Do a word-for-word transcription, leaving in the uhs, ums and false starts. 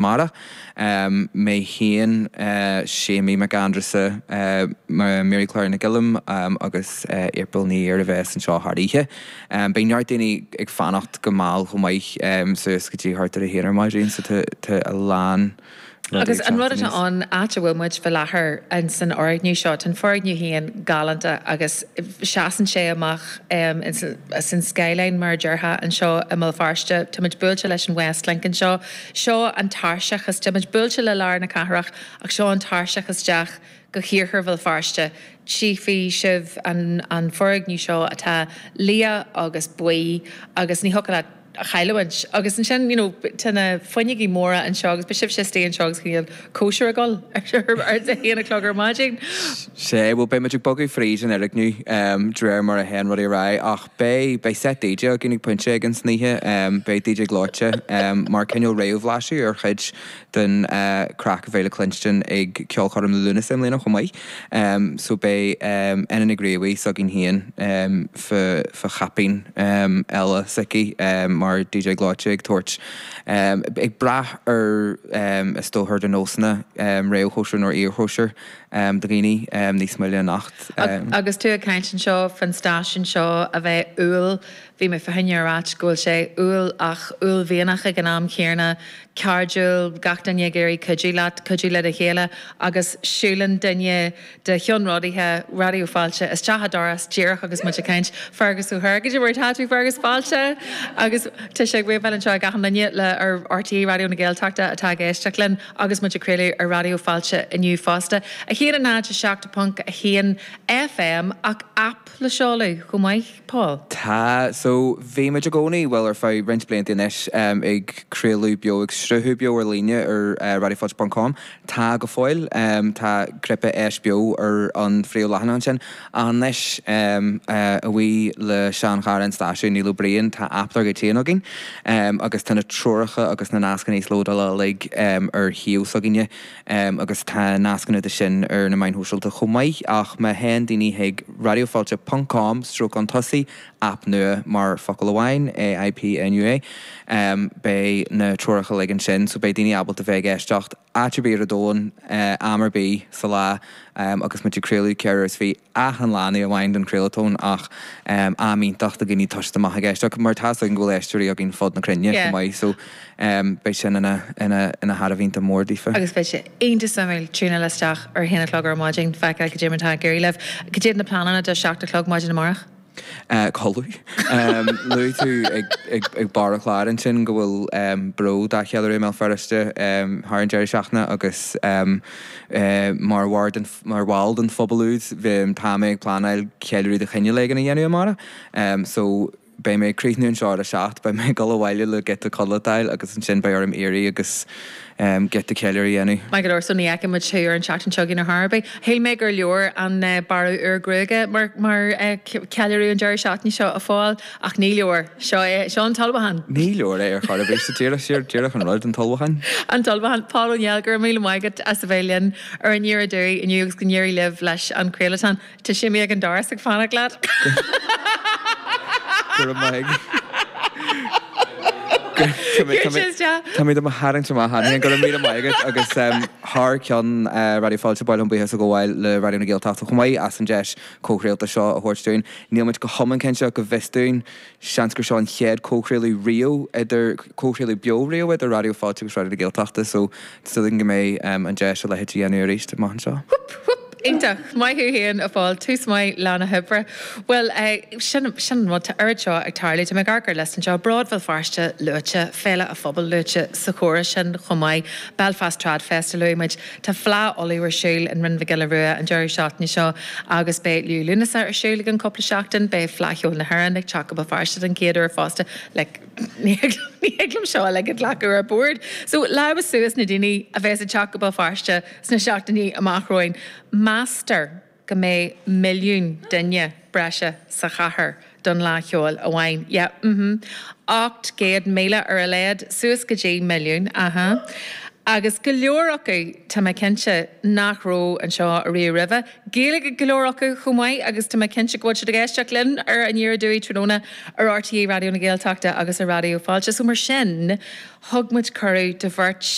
Amárach. Mé féin, Séimí Mac Aindreasa, Mary Claire Nic Uilliam agus April Ní Ír a bheas anseo thar oíche. Beidh neart daoine ag fanacht go mall chomh maith, suas go dtí thart ar a haon ar maidin, so tá a lán rudaí ag Agus an teacht rud atá aníos. ann, áit a bhfuil muid faoi láthair in san fhoirgneamh seo, tá an foirgneamh féin galánta agus seasann sé amach san skyline mar a déarfá anseo i mBéal Feirste. Tá muid buailte leis an Westlink anseo. Seo an tairseach is, tá muid buailte le lár na cathrach ach seo an tairseach isteach go hiarthar Bhéal Feirste. Tchífidh sibh an an foirgneamh seo atá liath agus buí agus ní thiocfadh leat a chailliúint. Agus ansin, you know, tá na fuinneogaí móra anseo agus beidh sibhse istigh anseo agus cineál cóisir ag dul ar a haon a chlog ar maidin. Sea, bhuel, beidh muid ag bogadh fríd an fhoirgneamh de réir mar a théann rudaí ar aghaidh ach beidh, beidh set DJ againn ag pointe éigin san oíche, beidh DJ gleoite mar cineál réamhbhlaiseadh ar chuid den craic a bheidh le cluinstin ag Ceolchoirm Lúnasa i mbliana chomh maith. So beidh Ena Nic Ghríobhaigh s'againn féin fá, fá chaipín eile s'aici mar DJ gleoite ag tabhairt, ag brath ar is dócha ar do nósanna réamhchóisir nó iarchóisir do dhaoine níos moille anocht. Agus tú ag caint anseo faoin stáisiún seo a bheith umhal, bhí mé fá choinne a ráit go bhfuil sé umhal ach uaillmhianach ag an am chéanna, cairdiúil, gach duine ag iarraidh cuidiú leat, cuidiú le do chéile agus siúlann duine de cheannródaithe Raidió Fáilte isteach an doras díreach agus muid ag caint, Fergus O'Hare, Cad é mar atá tú Fergus? Fáilte! Agus tá sé ag wave-áil anseo ag achan duine le ar RTÉ Raidió na Gaeltachta atá ag éisteacht linn agus muid ag craoladh ar Raidió Fáilte inniu fosta. A haon a náid a seacht ponc a haon FM ach aip le seoladh chomh maith, Paul? Tá. So, bhí muid i gcónaí, bhuel ar feadh roinnt blianta anois, ag craoladh beo, ag sruthú beo ar líne ar raidiofáilte ponc com. Tá go fóill. Tá cnaipe Éist Beo ar an phríomhleathanach ansin. Ach anois, a bhuí le seanchara an stáisiúin, Niall Ó Briain, tá aip dár gcuid féin againn agus tá na treoracha agus na nascanna íoslódála uilig ar shuíomh s'againne agus tá nascanna de sin ar na meáin shóisialta chomh maith. Ach má théann daoine chuig raidiofáilte ponc com stroke chun tosaigh, aip nua mar focal amháin, AIPNUA, beidh na treoracha uilig ansin so beidh daoine ábalta bheith ag éisteacht áit ar bith ar an domhan, am ar bith sa lá agus muid ag craoladh ceithre uair is fiche achan lá, ní amháin don chraolatón ach am iontach do dhaoine toiseacht amach ag éisteacht mar tá 'fhios againn go bhfuil éisteoirí againn fud na cruinne chomh maith so beidh sin ina ina ina thairbhe iontach mór daofa. Agus beidh sé iontach suimiúil tiúnáil isteach ar a haon a chlog ar maidin, feiceáil cad é mar atá ag éirí libh. Cad iad na pleananna do seacht a chlog maidin amárach? Codladh. Luaigh tú ag barr an chláir ansin go bhfuil Bród á cheiliúradh i mBéal Feirste thar an deireadh seachtaine agus mar mar bhall den phobal úd tá mé ag pleanáil ceiliúradh de chineál éigin a dhéanamh amárach. So beidh mé ag críochnú anseo ar a seacht, beidh mé ag dul abhaile le giota codlata a fháil agus ansin beidh orm éirí agus giota ceiliúradh a dhéanamh. Maith go leor, so ní fheicfidh muid thú ar an tseachtain seo chugainn ar chor ar bith. Shíl mé gur leor an bearradh úr gruaige mar mar ceiliúradh an deireadh seachtaine seo a Phóil, ach ní leor. Seo é, seo an t-ullmhúchán. Ní leor é ar chor ar bith. Sa díreach, siar, díreach an rud, an t-ullmhúchán. An t-ullmhúchán. Pól Ó Néill, go raibh míle maith agat as a bheith linn ar Aniar Aduaidh inniu agus go n-éirí libh leis an chraolatán. Tá Séimí ag an doras ag fanacht leat. Go raibh maith agat. Tá mé do mo tharraingt amach cheana féin. Go raibh míle maith agat agus thar ceann Raidió Fáilte ba mhaith liom buíochas a ghabháil le Raidió na Gaeltachta chomh maith as an deis comhchraolta seo a thabhairt dúinn. Níl muid go hiomlán cinnte ach go bhfios dúinn, seans gur seo an chéad comhchraoladh riamh idir, comhchraoladh beo riamh idir Raidió Fáilte agus Raidió na Gaeltachta so tá súil againn go mbeidh an deis a leithéid a dhéanamh arís amach anseo. Hup! Hup! Iontach! Maith thú féin, a Phóil. Tús maith lá na hoibre. Bhuel, sin, sin an rud, tá oiread seo ag tarlú. Tá mé ag amharc ar liosta anseo, Bród Bhéal Feirste luaite, Féile an Phobail luaite sa chomhrá sin chomh maith, Belfast Trad Fest a luaigh muid, tá Fleadh Uladh ar siúl in Rinn Mhic Giolla Rua an deireadh seachtaine seo agus beidh Liú Lúnasa ar siúl i gceann cúpla seachtain, beidh Fleadh Cheoil na hÉireann ag teacht go Béal Feirste den chéad uair fosta. Like, ní thig liom seo uilig a ghlacadh ar bord. So, lámha suas na daoine a bheas ag teacht go Béal Feirste sna seachtainí amach romhainn. Meastar go mbeidh milliún duine breise sa chathair don Fhleadh Cheoil amháin. Yeah, mm-hmm. Ocht gcéad míle ar a laghad, suas go dtí milliún, aha. Agus go leor acu tá mé cinnte nach raibh anseo ariamh roimhe. Gaeilge go leor acu chomh maith agus tá mé cinnte go bhfuil siad ag éisteacht linn ar Aniar Aduaidh tráthnóna ar RTÉ Raidió na Gaeltachta agus ar Raidió Fáilte. So mar sin thug muid cuireadh do bheirt